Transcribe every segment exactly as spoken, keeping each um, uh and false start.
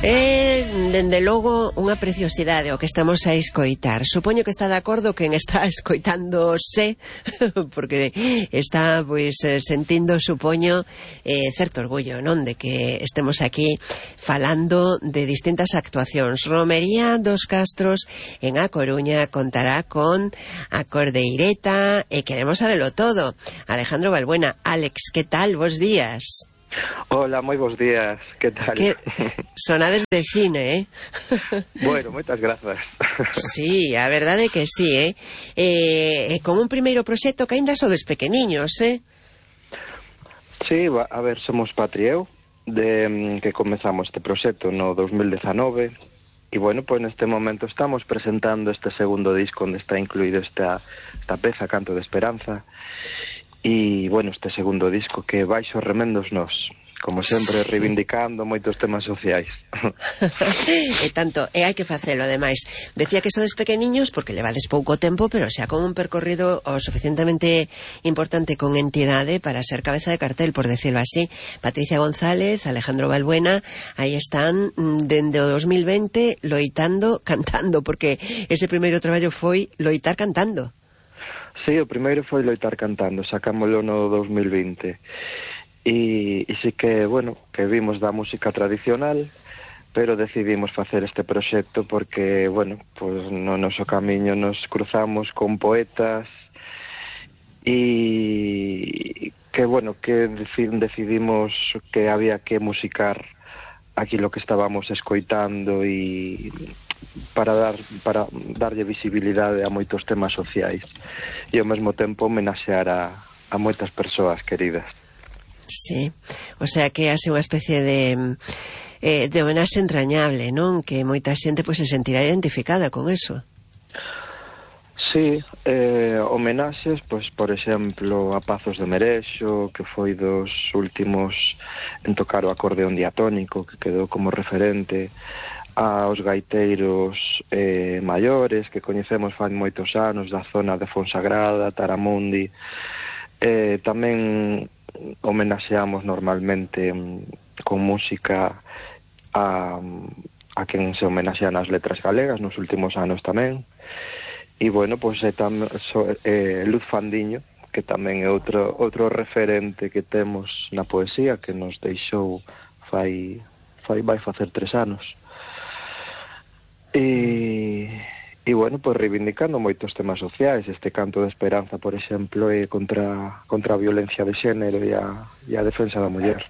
É, dende logo, unha preciosidade o que estamos a escoitar. Supoño que está de acordo quen está escoitándose, porque está, pois, sentindo, supoño, eh, certo orgullo, non? De que estemos aquí falando de distintas actuacións. Romería dos Castros en A Coruña contará con a Cordeireta e queremos sabelo todo. Alejandro Balbuena. Alex, que tal? Bos días. Hola, moi bons días, que tal? Que sonades de cine, eh? Bueno, moitas grazas. Sí, a verdade é que sí, eh? eh? Con un primeiro proxecto que aínda sodes pequeniños, eh? Sí, a ver, somos Patrieu, de que comezamos este proxecto no dos mil dezanove, e bueno, pois neste momento estamos presentando este segundo disco onde está incluído esta, esta peza, Canto de Esperanza. E, bueno, este segundo disco que baixo remendos nos, como sempre, reivindicando moitos temas sociais. E tanto, e hai que facelo, ademais. Decía que sodes pequeniños porque levades pouco tempo, pero xa con un percorrido o suficientemente importante con entidade para ser cabeza de cartel, por decirlo así. Patricia González, Alejandro Balbuena, aí están dende o dos mil vinte loitando, cantando, porque ese primeiro traballo foi loitar cantando. Sí, o primeiro foi loitar cantando, sacámoslo no dos mil vinte. E, e sí que, bueno, que vimos da música tradicional, pero decidimos facer este proxecto porque, bueno, pues no noso camiño nos cruzamos con poetas e que, bueno, que decidimos que había que musicar aquilo que estábamos escoitando e para dar para darlle visibilidade a moitos temas sociais e ao mesmo tempo homenaxear a, a moitas persoas queridas. Sí, o sea que hace unha especie de eh, de homenaxe entrañable, non? Que moita xente pois, se sentirá identificada con eso. Sí, eh, homenaxes, pois, por exemplo, a Pazos de Merexo, que foi dos últimos en tocar o acordeón diatónico, que quedou como referente, aos gaiteiros eh, maiores que coñecemos fai moitos anos da zona de Fonsagrada, Taramundi. Eh, tamén homenaxeamos normalmente mm, con música a, a quen se homenaxea nas letras galegas nos últimos anos tamén. E bueno, pois é tam, so, eh, Luz Fandiño, que tamén é outro, outro referente que temos na poesía, que nos deixou fai, fai vai facer tres anos. E, e bueno, pois reivindicando moitos temas sociais. Este Canto de Esperanza, por exemplo, é contra, contra a violencia de xénero e a, e a defensa da muller.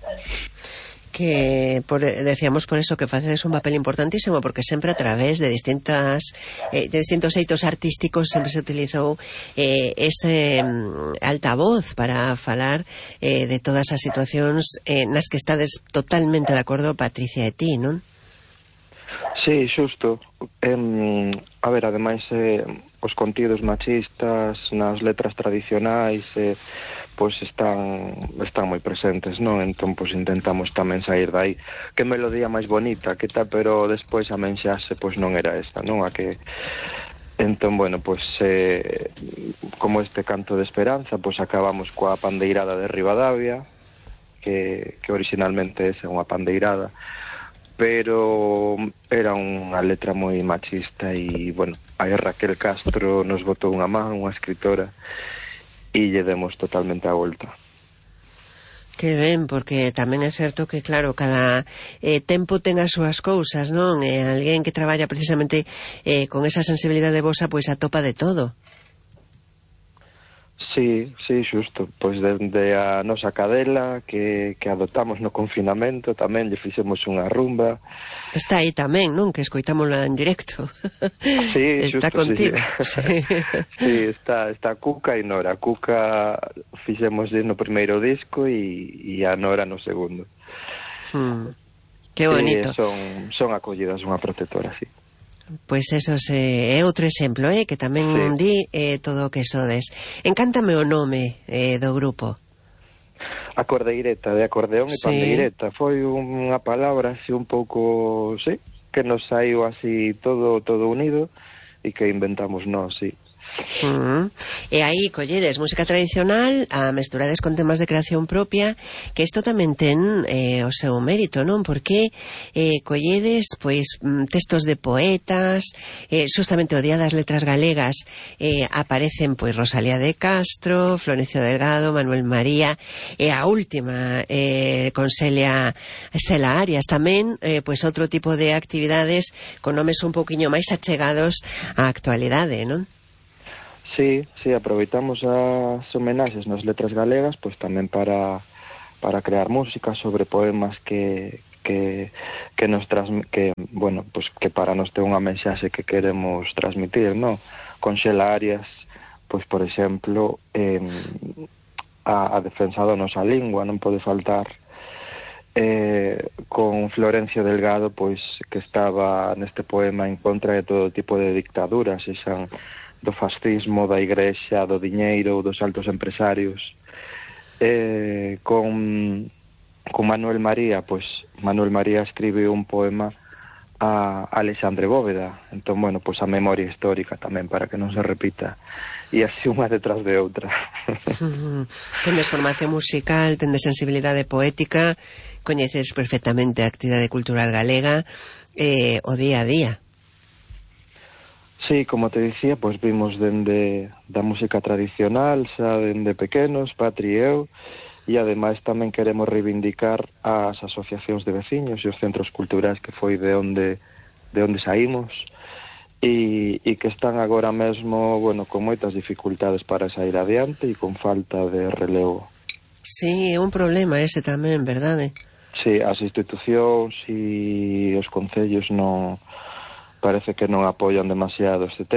Que por, decíamos por eso que facedes un papel importantísimo, porque sempre a través de distintas eh, de distintos eitos artísticos sempre se utilizou eh, ese mm, altavoz para falar eh, de todas as situacións eh, nas que estades totalmente de acordo Patricia e ti, non? Sí, xusto. Eh, a ver, ademais eh, os contidos machistas nas letras tradicionais eh, pois están están moi presentes, non? Entón, pois intentamos tamén sair dai. Que melodía máis bonita, que tal, pero despois a menxase pois non era esa, non? A que entón, bueno, pois eh, como este Canto de Esperanza, pois acabamos coa pandeirada de Ribadavia, que, que originalmente é unha pandeirada, pero era unha letra moi machista e, bueno, aí Raquel Castro nos botou unha man, unha escritora, e lle demos totalmente a volta. Que ben, porque tamén é certo que, claro, cada eh, tempo ten as súas cousas, non? E alguén que traballa precisamente eh, con esa sensibilidade vosa, pois atopa de todo. Sí, sí, xusto. Pois dende a nosa cadela que, que adoptamos no confinamento tamén lle fixemos unha rumba. Está aí tamén, non? Que escoitámosla en directo. Sí, está xusto, contigo. Sí, sí. Sí, está, está Cuca e Nora. Cuca fixemos no primeiro disco e, e a Nora no segundo. Hmm. Que bonito. Sí, son, son acollidas unha protectora, sí. Pois eso se, é outro exemplo, eh, que tamén sí. di eh, todo o que sodes. Encántame o nome eh, do grupo. A Cordeireta, de acordeón e sí. pandeireta. Foi unha palabra así un pouco, sí, que nos saiu así todo todo unido e que inventamos nós, sí. Uh-huh. E aí colledes música tradicional a mesturades con temas de creación propia, que isto tamén ten eh, o seu mérito, non? Porque eh, colledes pois textos de poetas, eh, justamente o Día das Letras Galegas eh, aparecen pois Rosalía de Castro, Florencio Delgado, Manuel María, e a última eh, con Celia Sela Arias tamén, eh, pois outro tipo de actividades con nomes un pouquiño máis achegados á actualidade, non? Sí, sí, aproveitamos as homenaxes nas letras galegas, pois tamén para para crear música sobre poemas que que que nos transm que, bueno, pois que para nós ten unha mensaxe que queremos transmitir, ¿no? Con Xela Arias, pois por exemplo, eh, a, a defensa da nosa lingua non pode faltar. Eh, con Florencio Delgado, pois que estaba neste poema en contra de todo tipo de dictaduras, xan do fascismo, da igrexa, do diñeiro, dos altos empresarios. Eh, con, con Manuel María, pois Manuel María escribe un poema a Alexandre Bóveda. Entón, bueno, pois a memoria histórica tamén, para que non se repita. E así unha detrás de outra. Tendes formación musical, tendes sensibilidade poética, coñeces perfectamente a actividade cultural galega, eh, o día a día. Sí, como te dicía, pois vimos dende da música tradicional, xa dende pequenos, Patri e eu, e ademais tamén queremos reivindicar as asociacións de veciños e os centros culturais que foi de onde de onde saímos e, e que están agora mesmo, bueno, con moitas dificultades para sair adiante e con falta de relevo. Sí, é un problema ese tamén, verdade? Sí, as institucións e os concellos non parece que non apoian demasiado este tema.